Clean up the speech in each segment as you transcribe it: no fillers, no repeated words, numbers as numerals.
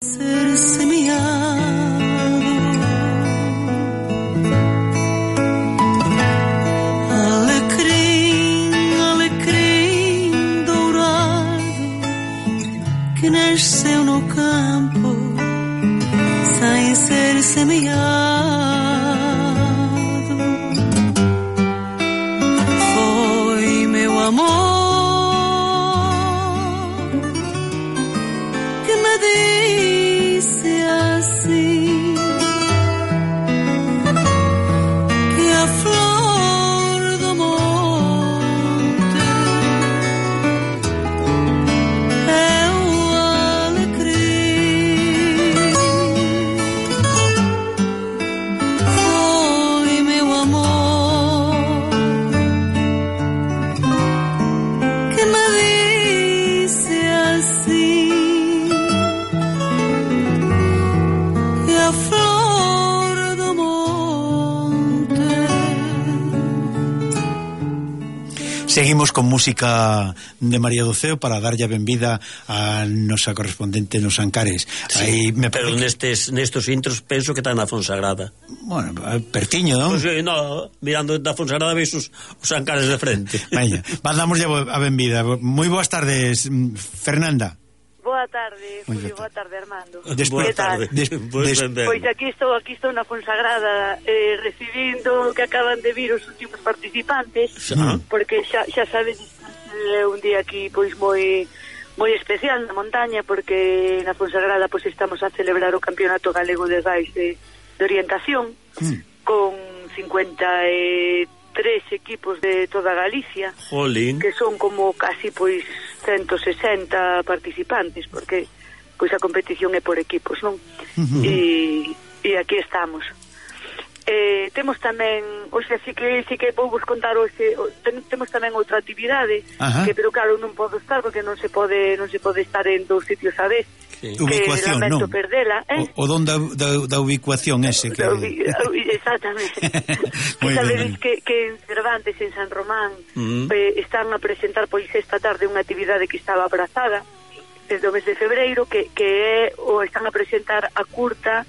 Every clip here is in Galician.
Ser semeado, alecrim, alecrim dourado que nasceu no campo sem ser semeado, foi meu amor que me disse assim, que a flor do monte é o alecrim, foi meu amor que me disse assim, a flor do monte. Seguimos con música de María do Ceo para darlle a benvida a nosa correspondente nos Ancares. Sí, pero nestes intros penso que está na Fonsagrada. Bueno, pertiño, non? Pues, no, mirando da Fonsagrada veis os Ancares de frente. Veña, mandamos a benvida. Moi boas tardes, Fernanda. Boa tarde, Julio, boa tarde, Armando. Boa tarde. Pois aquí estou na Fonsagrada recibindo que acaban de vir os últimos participantes, porque xa sabedes un día aquí pois moi especial na montaña, porque na Fonsagrada pois estamos a celebrar o Campeonato Galego de Rais de orientación con 53 equipos de toda Galicia. Jolín. Que son como casi pois 160 participantes, porque pois a competición é por equipos, non? E aquí estamos. Temos tamén, hoxe sí que vou vos contar hoxe, temos tamén outra actividade, que pero claro non podo estar porque non se pode estar en dous sitios a vez. Sí. Ubicuación, non? Perdela, o don da ubicuación ese que... Exactamente. Que sabedes que en Cervantes, en San Román, están a presentar pois esta tarde unha actividade que estaba abrazada desde o mes de febreiro, que é o están a presentar a curta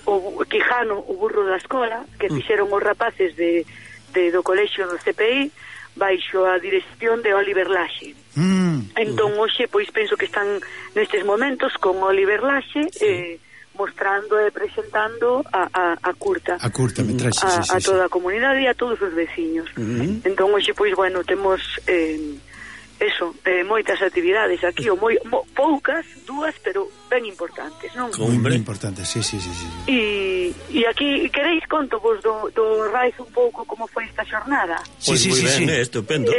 o Quijano, o burro da escola, que fixeron os rapaces do colexio do CPI baixo a dirección de Oliver Laxe. Entón hoxe pois penso que están nestes momentos con Oliver Laxe mostrando e presentando a curta metraxe, a toda a comunidade e a todos os veciños. Entón hoxe pois bueno, temos moitas actividades aquí, poucas, dúas, pero ben importantes, non? Ben importantes, sí. E aquí, queréis conto vos do Rais un pouco como foi esta xornada? Pois moi ben, estupendo.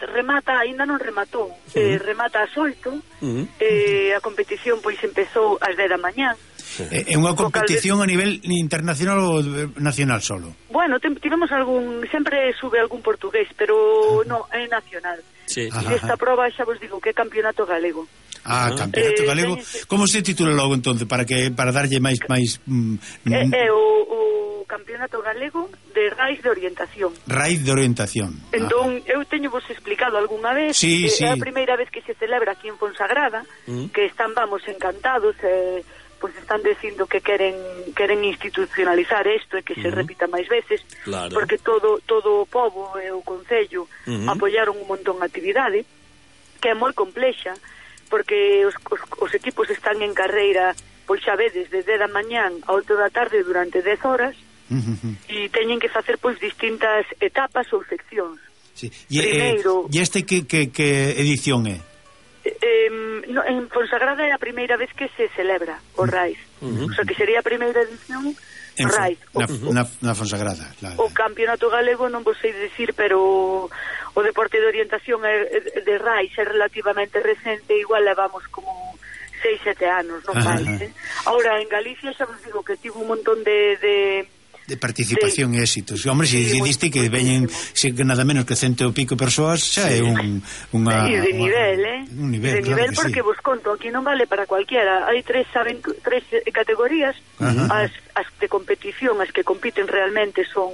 Remata, ainda non rematou, remata ás 8, a competición pois empezou ás 10 da mañá. É unha competición a nivel internacional ou nacional solo? Bueno, tivemos sempre sube algún portugués, pero non, é nacional. Sí. Esta proba xa vos digo que é Campeonato Galego. Campeonato Galego. Como se titula logo entonces para darlle máis é o Campeonato Galego de Rais de Orientación. Rais de Orientación. Entón, eu teño vos explicado algunha vez, é a primeira vez que se celebra aquí en Fonsagrada, que vamos encantados, pois están dicindo que queren institucionalizar isto e que se repita máis veces, claro. Porque todo o pobo e o concello apoiaron un montón a actividade, que é moi complexa, porque os equipos están en carreira, pois xa vedes, desde da mañán a 8 da tarde durante 10 horas, e teñen que facer pois distintas etapas ou seccións. Sí. Primeiro, e este que edición é? En Fonsagrada é a primeira vez que se celebra o Rais, o sea que sería a primeira edición Rais. Na Fonsagrada. O Campeonato Galego non vos sei dicir, pero o deporte de orientación de Rais é relativamente recente, igual levamos como 6-7 anos, non máis. Ahora en Galicia xa vos digo que tivo un montón de participación e éxitos. Hombre, se diste que veñen nada menos que 100 e pico persoas, xa é unha... de nivel, un nivel, de nivel, porque vos conto, aquí non vale para cualquiera. Hai tres categorías, as de competición, as que compiten realmente son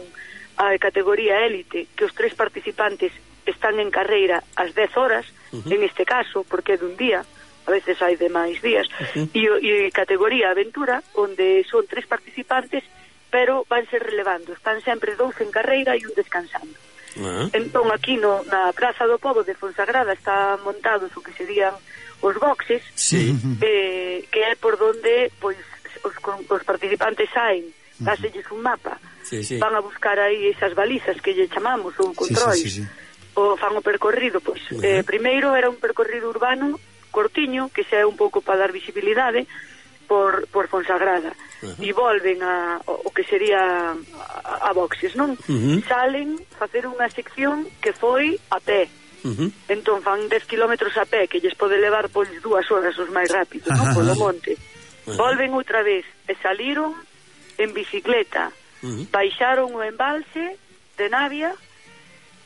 a categoría élite, que os tres participantes están en carreira ás 10 horas, en este caso, porque é dun día, a veces hai de máis días, e categoría aventura, onde son 3 participantes, pero van ser relevando, están sempre 2 en carreira e un descansando. Entón aquí na Praza do Pobo de Fonsagrada está montados o que serían os boxes, que é por donde pois os participantes saen, dáselles un mapa, van a buscar aí esas balizas que lle chamamos, ou controis, o fan o percorrido, pois primeiro era un percorrido urbano cortiño, que xa é un pouco para dar visibilidade por Fonsagrada, e volven o que sería a boxes, non? Salen facer unha sección que foi a pé, entón fan 10 kilómetros a pé, que lles pode levar pois 2 horas os máis rápidos, non? Polo monte, volven outra vez e saliron en bicicleta, baixaron o embalse de Navia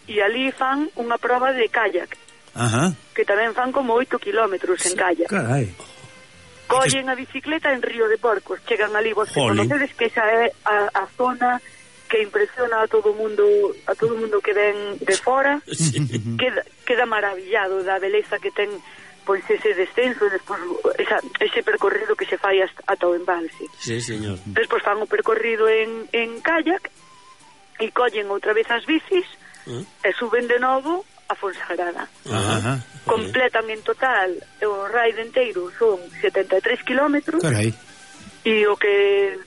e ali fan unha proba de kayak, que tamén fan como 8 kilómetros en kayak. Carai. Collen a bicicleta en Río de Porcos, chegan ali, vos que conocedes que esa é a zona que impresiona a todo mundo que ven de fora, queda maravillado da beleza que ten pois ese descenso e despois ese percorrido que se fai ata o embalse. Sí, señor. Despois fan o percorrido en kayak e collen outra vez as bicis e suben de novo a Fonsagrada. Completan en total o raid enteiro son 73 kilómetros. Carai. E o que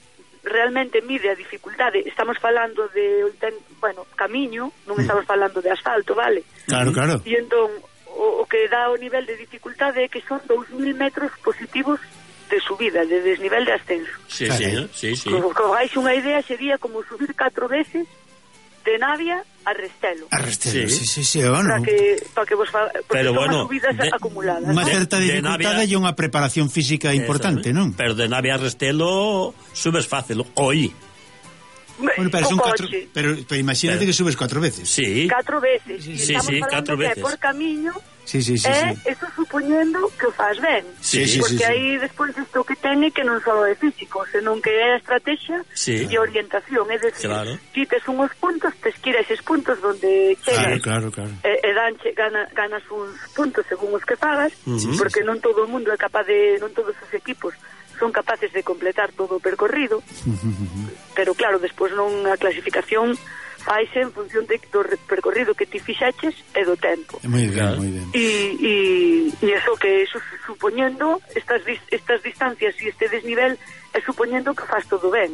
realmente mide a dificultade, estamos falando de camiño, non estamos falando de asfalto, vale? Claro. E entón o que dá o nivel de dificultade é que son 2.000 metros positivos de subida, de desnivel de ascenso. Sí, señor, sí. Como vais unha idea, sería como subir 4 veces de Navia a Restelo. A Restelo, sí, bueno. Para que vos pero son subidas acumuladas. Unha certa dificultade e unha preparación física importante, non? Pero de Navia a Restelo subes fácil, Bueno, pero son 4, pero imagínate que subes 4 veces. Sí. 4 veces. Sí, 4 veces. Por camiño. Sí. Eso supoñendo que o faz ben. Porque aí despois isto que ten é que non só é físico, senón que é a estrategia e orientación, é decir, quites unhos puntos, te esquira eses puntos donde chegas. Claro. E ganas uns puntos según os que pagas, porque non todo o mundo é capaz de, non todos os equipos son capaces de completar todo o percorrido, pero claro, despois non a clasificación faise en función do percorrido que ti fixaches e do tempo. Moi ben. E eso supoñendo estas distancias e este desnivel é supoñendo que faz todo ben,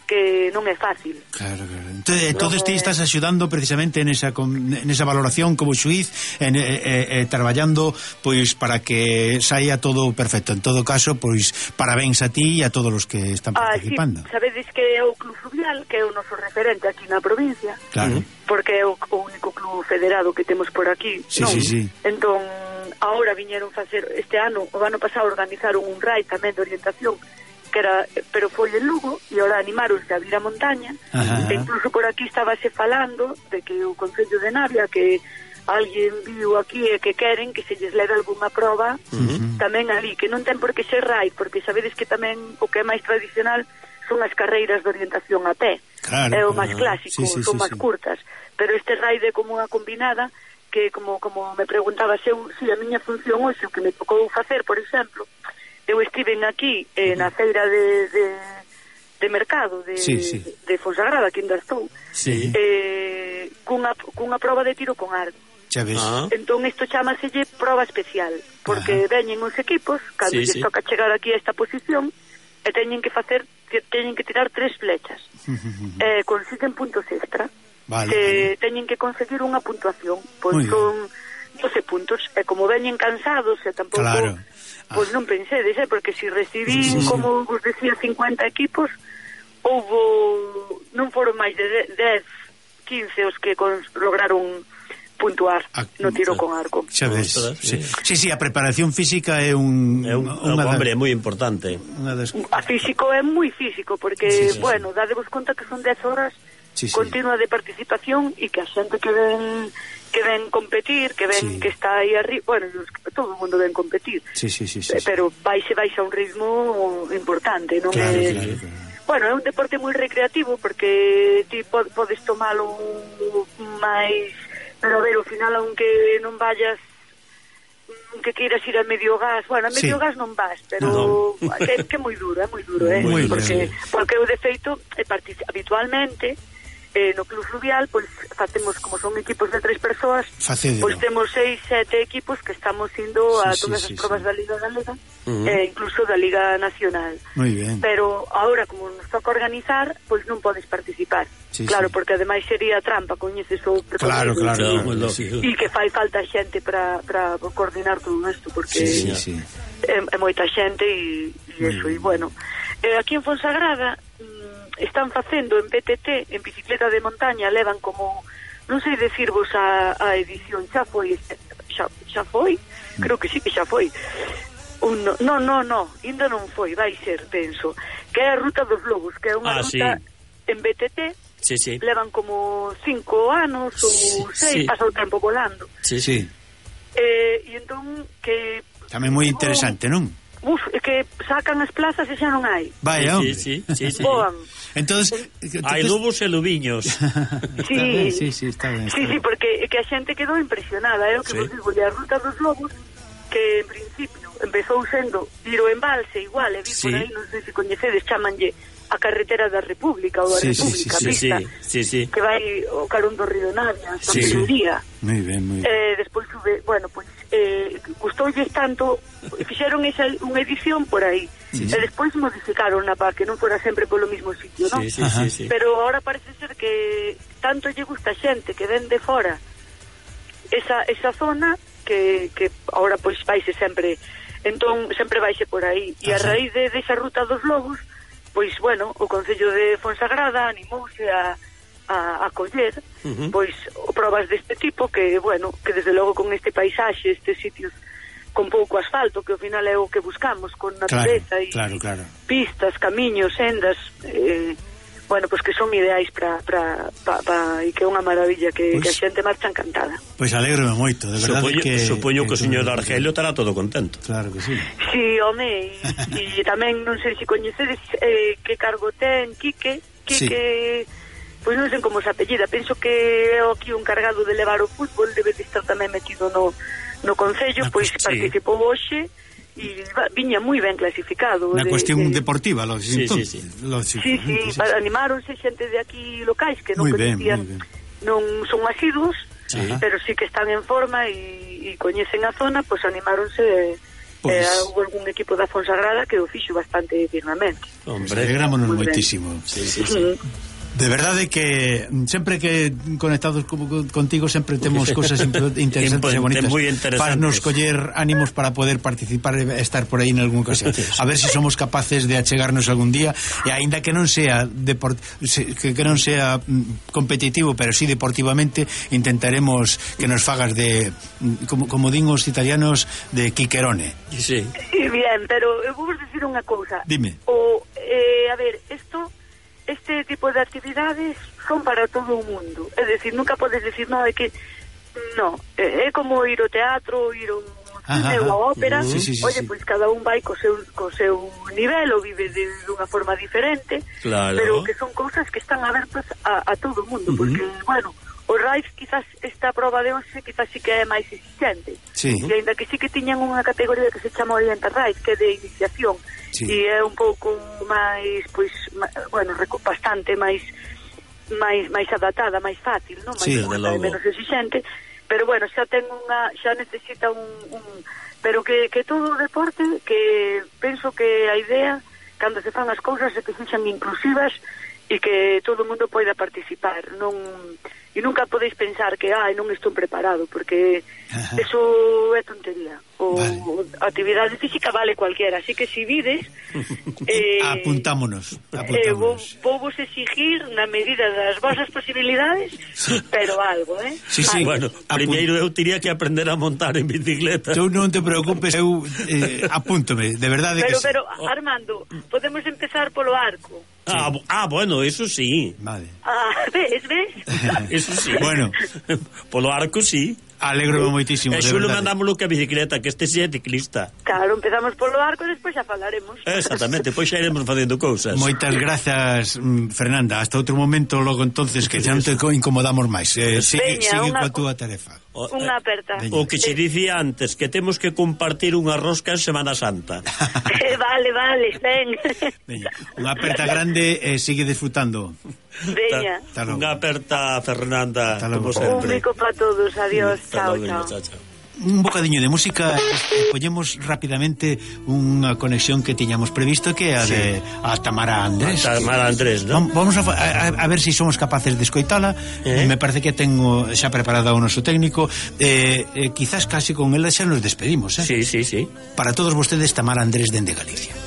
que non é fácil. Claro. Entonces ti estás axudando precisamente nesa valoración como xuiz traballando pois para que saia todo perfecto. En todo caso, pois parabéns a ti e a todos os que están participando. Sí, sabedes que é o Club Fluvial, que é o noso referente aquí na provincia. Claro. Porque é o único club federado que temos por aquí. Sí. Entón, agora viñeron facer o ano pasado organizaron un raid tamén de orientación pero foi en Lugo e ahora animaronse a vir a montaña e incluso por aquí estábase falando de que o Concello de Navia que alguén viu aquí e que queren que se lles leve algunha proba tamén ali, que non ten por que ser raid, porque sabedes que tamén o que é máis tradicional son as carreiras de orientación a pé, é o máis clásico, son máis curtas, pero este raid é como unha combinada que como me preguntaba se a miña función hoxe o que me tocou facer, por exemplo, eu estiven aquí na feira de mercado de Fonsagrada, que ainda estou, cunha proba de tiro con arco. Xa ves. Entón isto chámaselle proba especial, porque veñen os equipos cando lles toca chegar aquí a esta posición e teñen que tirar 3 flechas e consiguen puntos extra. Teñen que conseguir unha puntuación, pois son 12 puntos, e como veñen cansados e tampouco pois non pensedes, porque se recibín como vos decía 50 equipos, non foron máis de 10, 15 os que lograron puntuar no tiro con arco. Xa ves. Sí, a preparación física é hombre, moi importante. A físico é moi físico, porque, dadevos conta que son 10 horas continua de participación e que a xente que ven competir, que ven que está aí arriba, todo o mundo ven competir, pero vais a un ritmo importante, non é? Bueno, é un deporte moi recreativo porque ti podes tomalo máis, pero a ver, ao final, aunque non vayas que queiras ir a medio gas, bueno, a medio gas non vas, pero que é moi duro, porque eu de feito habitualmente no Club Fluvial, pois facemos, como son equipos de 3 persoas, pois temos 6, 7 equipos que estamos indo a todas as probas da Liga Galega, incluso da Liga Nacional. Moi ben. Pero agora, como nos toca organizar, pois non podes participar. Claro, porque ademais sería trampa, coñeces o Claro. E que fai falta xente para coordinar todo isto, porque é moita xente e eso, e bueno. Aquí en Fonsagrada están facendo en BTT, en bicicleta de montaña, levan como, non sei decirvos a edición, xa foi, creo que sí que xa foi. No, ainda non foi, vai ser, penso, que é a Ruta dos Lobos, que é unha ruta en BTT, levan como 5 anos ou 6, pasa o tempo volando. E entón, que... Tamén moi interesante, non? É que sacan as plazas e xa non hai. Vaya, Boan. Entonces hai lobos e lobiños. Está ben. Sí, porque que a xente quedou impresionada, o que vos digo, a Ruta dos Lobos, que en principio empezou sendo ir ao embalse igual, e vi por aí, non sei se coñecedes, chamanlle a carretera da República ou a República, pista, que vai o carón do Río Navia, Santuría. Moi ben. Despois sube, bueno, pois gustoulles tanto, fixeron unha edición por aí, e despois modificaron para que non fora sempre polo mismo sitio, non? Pero ahora parece ser que tanto lle gusta a xente que ven de fora esa zona que ahora pois vaise sempre, entón sempre vaise por aí, e a raíz desa Ruta dos Lobos, pois bueno, o Concello de Fonsagrada animouse a coller pois probas deste tipo, que bueno, que desde logo con este paisaxe, estes sitios con pouco asfalto, que ao final é o que buscamos, con natureza e pistas, camiños, sendas, bueno, pois que son ideais para e que é unha maravilla, que a xente marcha encantada. Pois alégrome moito, de verdade. Supoño que o señor Argelio estará todo contento. Claro que sí. Sí, home, e tamén non sei se coñecedes que cargo ten Quique, pois non sei como se apellida, penso que é aquí un cargado de levar o fútbol, debe de estar tamén metido no Concello, pois participou hoxe e viña moi ben clasificado. Na cuestión deportiva, lógico. Sí, animáronse xente de aquí locais que non coñecían, non son asiduos, pero sí que están en forma e coñecen a zona, pois animáronse. Houve algún equipo da Fonsagrada que o fixo bastante dignamente. Hombre, alegrámonos moitísimo. De verdade que sempre que conectados contigo sempre temos cosas interesantes e bonitas para nos coller ánimos para poder participar e estar por aí en algún ocasión. A ver se somos capaces de achegarnos algún día, e aínda que non sea que non sea competitivo, pero sí deportivamente, intentaremos que nos fagas de como din os italianos, de Quiquerone. Sí, bien, pero eu vou dicir unha cousa. Dime. A ver, este tipo de actividades son para todo o mundo, é dicir, nunca podes decir é como ir ao teatro, ir ao ópera, oye, pois cada un vai co seu nivel ou vive de unha forma diferente, pero que son cousas que están abertas a todo o mundo, porque, bueno, o RAIF quizás esta prova de hoxe quizás sí que é máis exigente, e ainda que sí que tiñan unha categoría que se chama Oriental RAIF, que é de iniciación, e é un pouco máis, pois, bueno, bastante máis adaptada, máis fácil, non? Menos exigente, pero bueno, xa necesita pero que todo o deporte, que penso que a idea cando se fan as cousas é que sexan inclusivas e que todo o mundo poida participar, e nunca podeis pensar que non estou preparado, porque eso é tontería. A actividade física vale cualquiera, así que si vides apuntámonos. Vou vos exigir na medida das vosas posibilidades, pero algo, Sí, bueno, primeiro eu tiría que aprender a montar en bicicleta. Tú non te preocupes, eu apúntome, de verdade que pero Armando, podemos empezar polo arco. Bueno, eso sí. Vale. ¿Ves? Eso sí. Bueno, polo arco sí. Alegro moitísimo. E xulo mandámoslo que a bicicleta, que este xe é ciclista. Claro, empezamos polo arco e despois xa falaremos. Exactamente, pois xa iremos facendo cousas. Moitas grazas, Fernanda. Hasta outro momento, logo entonces, que xa non te incomodamos máis. Sigue coa túa tarefa. Unha aperta. O que che dicía antes, que temos que compartir unha rosca en Semana Santa. Vale, ven. Veña, unha aperta grande e sigue disfrutando. Veña. Unha aperta, Fernanda, como Un sempre. bico para todos, adiós, chao. Un bocadiño de música e poñemos rapidamente unha conexión que tiñamos previsto, que é a de a Tamara Andrés. Tamara Andrés, ¿no? Vamos a ver se somos capaces de escoitala. Me parece que tengo xa preparada o noso técnico. Quizás casi con ela xa nos despedimos, Sí. Para todos vostedes, Tamara Andrés dende Galicia.